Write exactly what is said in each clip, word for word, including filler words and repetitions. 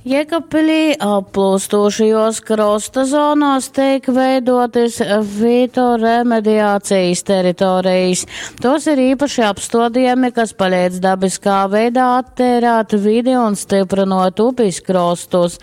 Jēkabpilī applūstošajos krosta zonās teik veidotas fitoremediācijas teritorijas. Tos ir īpaši apstādījumi, kas palīdz dabiskā veidā attīrāt vidi un stiprinot upes krostus.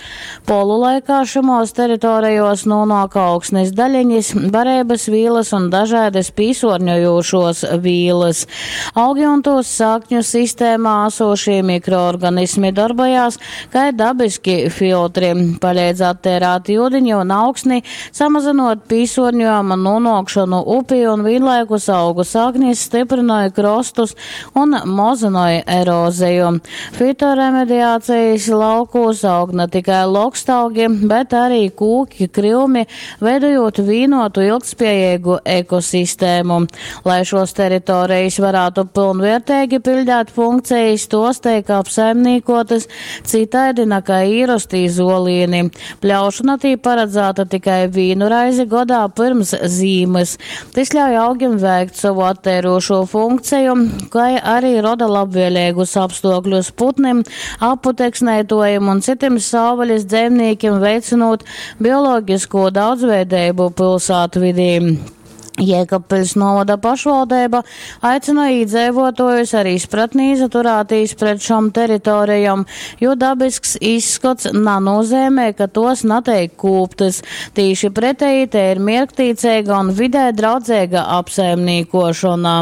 Polu laikā šimos teritorijos nonāk augsnes daļiņas, barības vīlas un dažādas pīsorņojošos vīlas. Augi un tos sakņu sistēmā esošie mikroorganismi darbojās, kā dabiski filtri, palīdz attērāt jūdiņu un augsni, samazinot pīsorņojuma nonākšanu upī un vienlaikus augu saknis stiprināja krostus un mazināja eroziju. Fitoremediācijas laukos aug ne tikai lokstaugi, bet arī kūki, kryumi, veidojot vienotu ilgtspējīgu ekosistēmu. Lai šos teritorijas varētu pilnvērtīgi pildīt funkcijas, tos teik apsaimniekotas citādi nekā īrostī zolīni. Pļaušana tī paredzēta tikai vīnu raizi godā pirms zīmes. Tas ļauj augim veikt savu attērošo funkciju, kā arī roda labvēlīgus apstākļus putnim, aputeksnētojiem un citiem savvaļas dzīvniekiem, veicinot bioloģisko daudzveidību pilsētvidī. Jēkabpils novada pašvaldība aicina iedzīvotājus ar izpratni izaturēties pret šom teritorijām, jo dabisks izskats nanozīmē, ka tos netiek kūptas. Tīši pretēji te ir mierktīcīga un vidē draudzīga apsaimniekošana.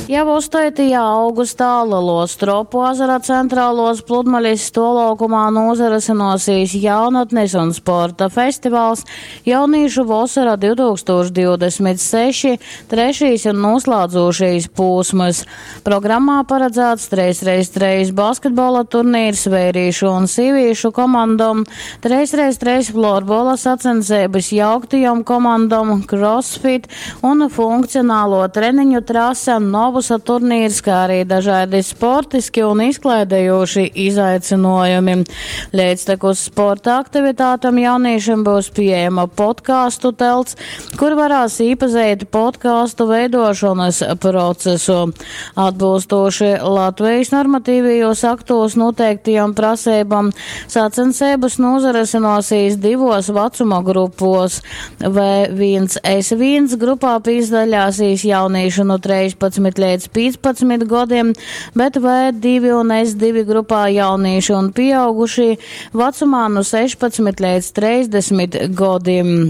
Jau astotajā augustā Lielo Stropu ezera centrālos pludmales stolaukumā nozarasinosīs jaunatnes un sporta festivāls Jaunīšu vasara divtūkstoš divdesmit seši, trešīs un noslēdzošīs posms. Programmā paredzēts trīs reiz trīs basketbola turnīrs vērīšu un sīvīšu komandom, trīs reiz trīs florbola sacensības jauktajām komandom, crossfit un funkcionālo treniņu trase Novu turnīrs, kā arī dažādi sportiski un izklaidējoši izaicinājumi. Līdztekus sporta aktivitātēm jauniešiem būs pieejama podcastu telts, kur varēs iepazīt podcastu veidošanas procesu. Atbilstoši Latvijas normatīvajos aktos noteiktajām prasībām, sacensības nozaresinosīs divos vecuma grupos. V viens S viens grupā pīzdaļāsīs jauniešu no trīspadsmit līdz piecpadsmit gadiem, bet V divi un S divi grupā jaunieši un pieaugušie vecumā no sešpadsmit līdz trīsdesmit gadiem.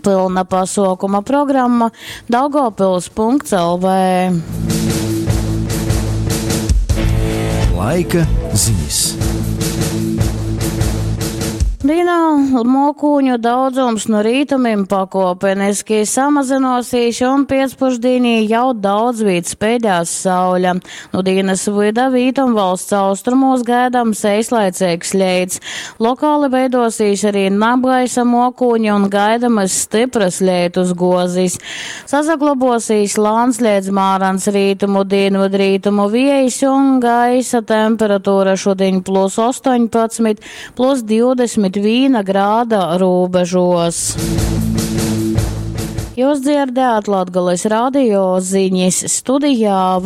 Pilna pasaukuma programma daugavpils punkts L V. Laika ziņas. Dienā mokūņu daudzums no rītumim pakopeniski samazinosīs un piecpušdienī jau daudz vīt spēdās sauļa. Nu dienas vida vītum valsts austrumos gaidams eislaicīgs leits. Lokāli veidosīs arī nabgaisa mokūņi un gaidamas stipras leitus gozis. Sasaglabosīs lāns līdz mārans rītumu dienvidrītumu viejs un gaisa temperatūra šodien plus astoņpadsmit, plus divdesmit viena grāda robežos. Jūs dzirdējāt Latgales radio ziņas studijā.